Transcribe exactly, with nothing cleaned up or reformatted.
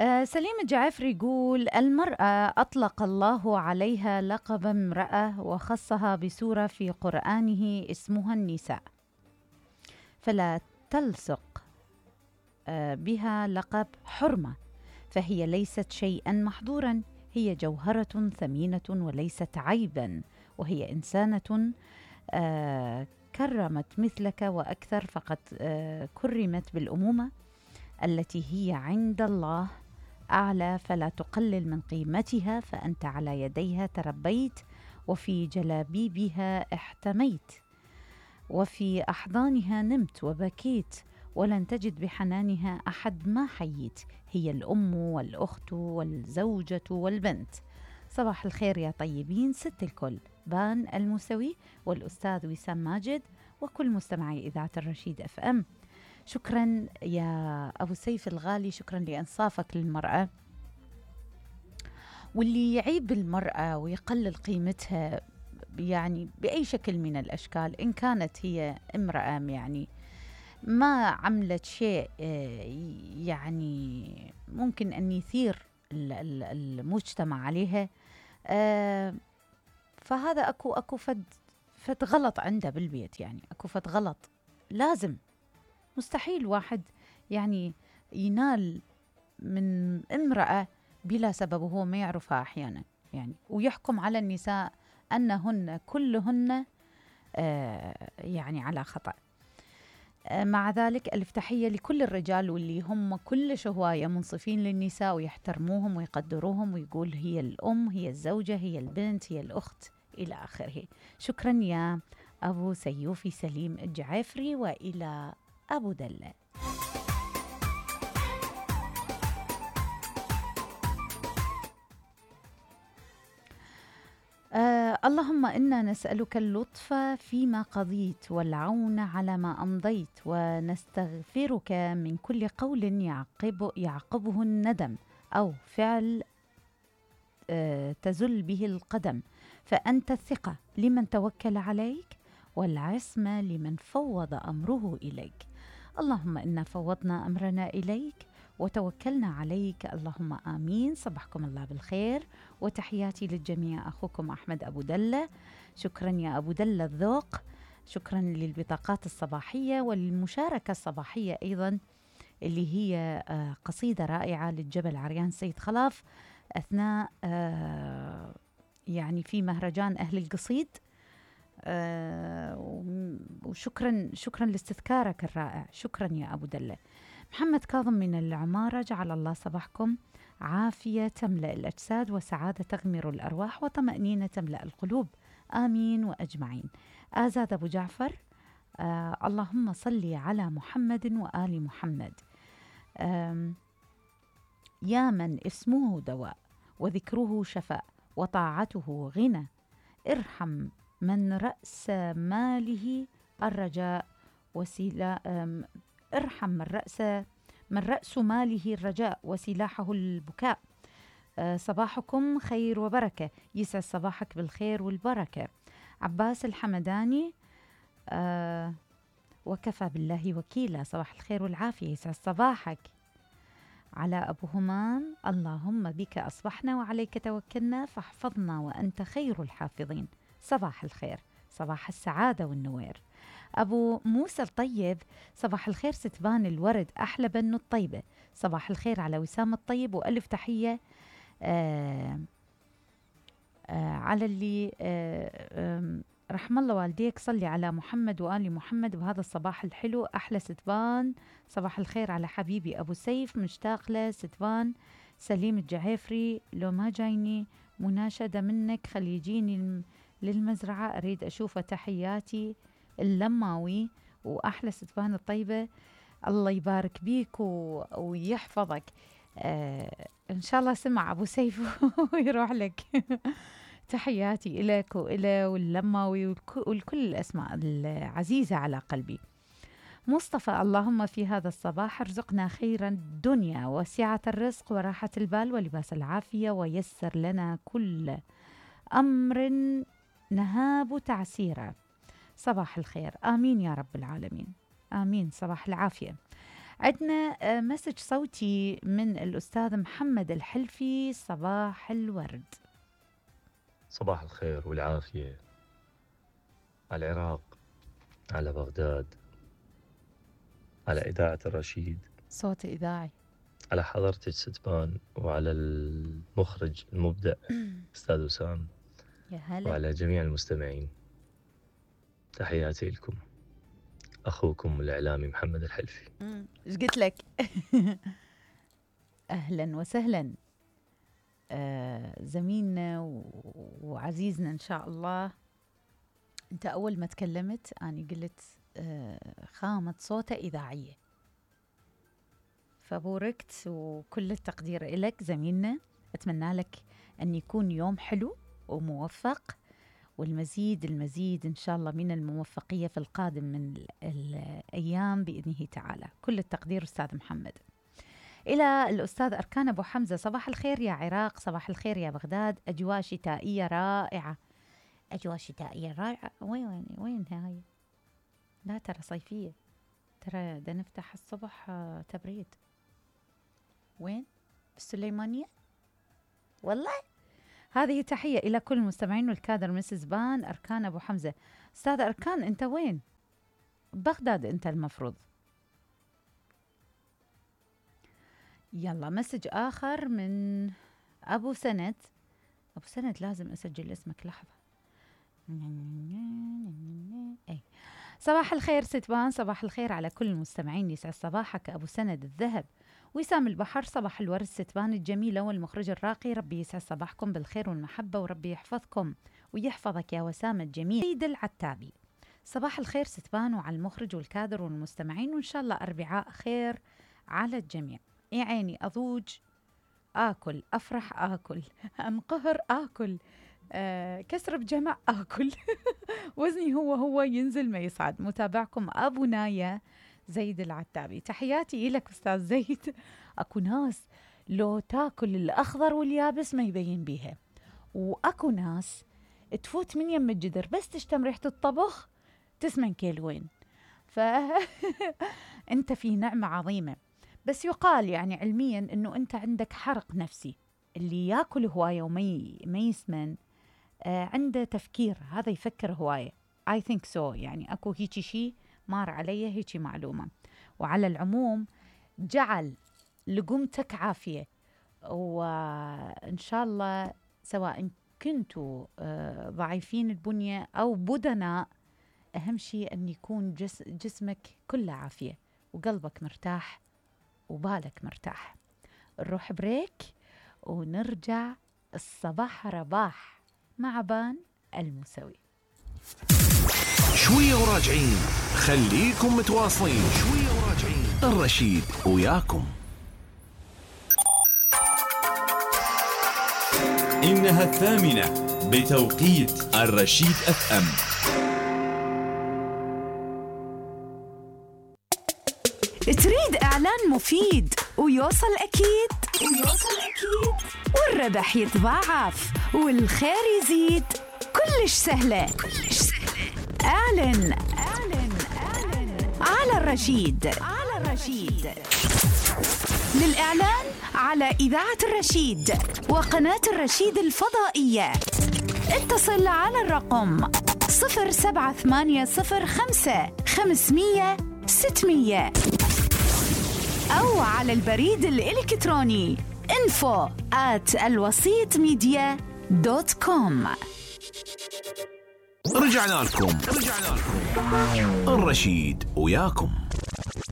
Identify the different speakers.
Speaker 1: آه سليم الجعافري يقول: المرأة أطلق الله عليها لقب امرأة وخصها بسورة في قرآنه اسمها النساء، فلا تلصق آه بها لقب حرمة، فهي ليست شيئا محظورا، هي جوهرة ثمينة وليست عيبا، وهي إنسانة آه كرمت مثلك وأكثر، فقد آه كرمت بالأمومة التي هي عند الله أعلى، فلا تقلل من قيمتها، فأنت على يديها تربيت، وفي جلابيبها احتميت، وفي أحضانها نمت وبكيت، ولن تجد بحنانها أحد ما حييت، هي الأم والأخت والزوجة والبنت. صباح الخير يا طيبين، ست الكل، بان الموسوي والأستاذ وسام ماجد وكل مستمعي إذاعة الرشيد أف أم. شكرا يا أبو سيف الغالي، شكرا لإنصافك للمرأة، واللي يعيب المرأة ويقلل قيمتها يعني بأي شكل من الأشكال، إن كانت هي امرأة يعني ما عملت شيء يعني ممكن أن يثير المجتمع عليها، فهذا أكو أكو فد فد غلط عنده بالبيت، يعني أكو فد غلط لازم، مستحيل واحد يعني ينال من امرأة بلا سبب وهو ما يعرفها أحيانا يعني، ويحكم على النساء أنهن كلهن آه يعني على خطأ. آه مع ذلك ألف تحية لكل الرجال واللي هم كل هواية منصفين للنساء ويحترموهم ويقدروهم، ويقول هي الأم، هي الزوجة، هي البنت، هي الأخت إلى آخره. شكرا يا أبو سيوفي سليم الجعافري، وإلى أبو دلة. آه اللهم إنا نسألك اللطف فيما قضيت والعون على ما أمضيت، ونستغفرك من كل قول يعقب يعقبه الندم أو فعل آه تزل به القدم، فأنت الثقة لمن توكل عليك والعصمة لمن فوض أمره إليك. اللهم إنا فوضنا أمرنا إليك وتوكلنا عليك، اللهم آمين. صبحكم الله بالخير وتحياتي للجميع، أخوكم أحمد أبو دلة. شكرا يا أبو دلة الذوق، شكرا للبطاقات الصباحية والمشاركة الصباحية أيضا، اللي هي قصيدة رائعة للجبل عريان سيد خلاف أثناء يعني في مهرجان أهل القصيد. آه وشكرا شكرا لاستذكارك الرائع، شكرا يا أبو دلة. محمد كاظم من العمارة، جعل الله صباحكم عافية تملأ الأجساد وسعادة تغمر الأرواح وطمأنينة تملأ القلوب، آمين وأجمعين. آزاد أبو جعفر، آه اللهم صل على محمد وآل محمد. يا من اسمه دواء وذكره شفاء وطاعته غنى، ارحم من رأس ماله الرجاء وسيلة ارحم من رأس من رأس ماله الرجاء وسلاحه البكاء. أه صباحكم خير وبركة، يسعد صباحك بالخير والبركة. عباس الحمداني، أه وكفى بالله وكيلا، صباح الخير والعافية، يسعد صباحك. على أبو همام، اللهم بك أصبحنا وعليك توكلنا فاحفظنا وأنت خير الحافظين، صباح الخير، صباح السعادة والنوير. أبو موسى الطيب، صباح الخير ستبان الورد أحلى بنو الطيبة، صباح الخير على وسام الطيب وألف تحية آآ آآ على اللي آآ رحم الله والديك، صلي على محمد وآل محمد بهذا الصباح الحلو، أحلى ستبان. صباح الخير على حبيبي أبو سيف، مشتاق له ستبان. سليم الجعافري، لو ما جايني مناشدة منك خلي يجيني للمزرعة أريد أشوفه، تحياتي اللماوي وأحلى ستبان الطيبة. الله يبارك بيك و... ويحفظك. آه إن شاء الله سمع أبو سيف ويروح لك. تحياتي إليك وإلى واللماوي والك... والكل الأسماء العزيزة على قلبي. مصطفى، اللهم في هذا الصباح ارزقنا خير الدنيا وسعة الرزق وراحة البال ولباس العافية، ويسر لنا كل أمر نهاب تعسيرا. صباح الخير، آمين يا رب العالمين، آمين. صباح العافية. عندنا مسج صوتي من الأستاذ محمد الحلفي. صباح الورد.
Speaker 2: صباح الخير والعافية على العراق، على بغداد، على إذاعة الرشيد،
Speaker 1: صوت إذاعي،
Speaker 2: على حضرتك ستبان، وعلى المخرج المبدع أستاذ وسام،
Speaker 1: يا هلا،
Speaker 2: وعلى جميع المستمعين. تحياتي لكم، أخوكم الإعلامي محمد الحلفي.
Speaker 1: إيش قلت لك؟ أهلا وسهلا. آه زميلنا وعزيزنا إن شاء الله. أنت أول ما تكلمت أنا قلت آه خامة صوته إذاعية، فبوركت وكل التقدير إلك زميلنا. أتمنى لك أن يكون يوم حلو وموفق، والمزيد المزيد إن شاء الله من الموفقية في القادم من الأيام بإذنه تعالى. كل التقدير أستاذ محمد. إلى الأستاذ أركان أبو حمزة. صباح الخير يا عراق، صباح الخير يا بغداد، أجواء شتائية رائعة. أجواء شتائية رائعة. وين وين وين هاي؟ لا ترى صيفية، ترى ده نفتح الصبح تبريد. وين؟ بالسليمانية؟ والله. هذه تحية إلى كل المستمعين والكادر. مسز بان أركان أبو حمزة. أستاذ أركان أنت وين؟ بغداد أنت المفروض. يلا مسج آخر من أبو سند. أبو سند لازم أسجل اسمك لحظة. أي. صباح الخير ستبان، صباح الخير على كل المستمعين، يسعد صباحك أبو سند الذهب. وسام البحر. صباح الورد ستبان الجميلة والمخرج الراقي، ربي يسعد صباحكم بالخير والمحبة، وربي يحفظكم ويحفظك يا وسام الجميل. سيد العتابي. صباح الخير ستبان وعلى المخرج والكادر والمستمعين، وإن شاء الله أربعاء خير على الجميع. يا عيني أضوج آكل، أفرح آكل، أنقهر آكل، آه، كسر بجمع آكل. وزني هو هو ينزل ما يصعد. متابعكم أبو نايا زيد العتابي. تحياتي إلك أستاذ زيد. أكو ناس لو تاكل الأخضر واليابس ما يبين بيها، وأكو ناس تفوت من يم الجدر بس تشتم ريحة الطبخ تسمن كيلوين. فأنت في نعمة عظيمة، بس يقال يعني علميا أنه أنت عندك حرق نفسي. اللي ياكل هواية وما ما يسمن آه عنده تفكير، هذا يفكر هواية. I think so. يعني أكو هيجي شيء مار علي هيجي معلومة. وعلى العموم جعل لقمتك عافية، وإن شاء الله سواء كنتوا آه ضعيفين البنية أو بدناء، أهم شيء أن يكون جس جسمك كله عافية وقلبك مرتاح وبالك مرتاح. نروح بريك ونرجع الصباح رباح مع بان الموسوي.
Speaker 3: شوية وراجعين، خليكم متواصلين. شوية وراجعين، الرشيد وياكم.
Speaker 4: إنها الثامنة بتوقيت الرشيد اف ام.
Speaker 5: تريد إعلان مفيد ويوصل أكيد ويوصل أكيد والربح يتضاعف والخير يزيد؟ كلش سهلة كلش سهلة. أعلن أعلن أعلن على الرشيد على الرشيد. للإعلان على إذاعة الرشيد وقناة الرشيد الفضائية اتصل على الرقم صفر سبعة ثمانية صفر خمسة خمسمية ستمية أو على البريد الإلكتروني info at الوسيط ميديا دوت كوم.
Speaker 3: رجعنا لكم رجعنا لكم الرشيد وياكم.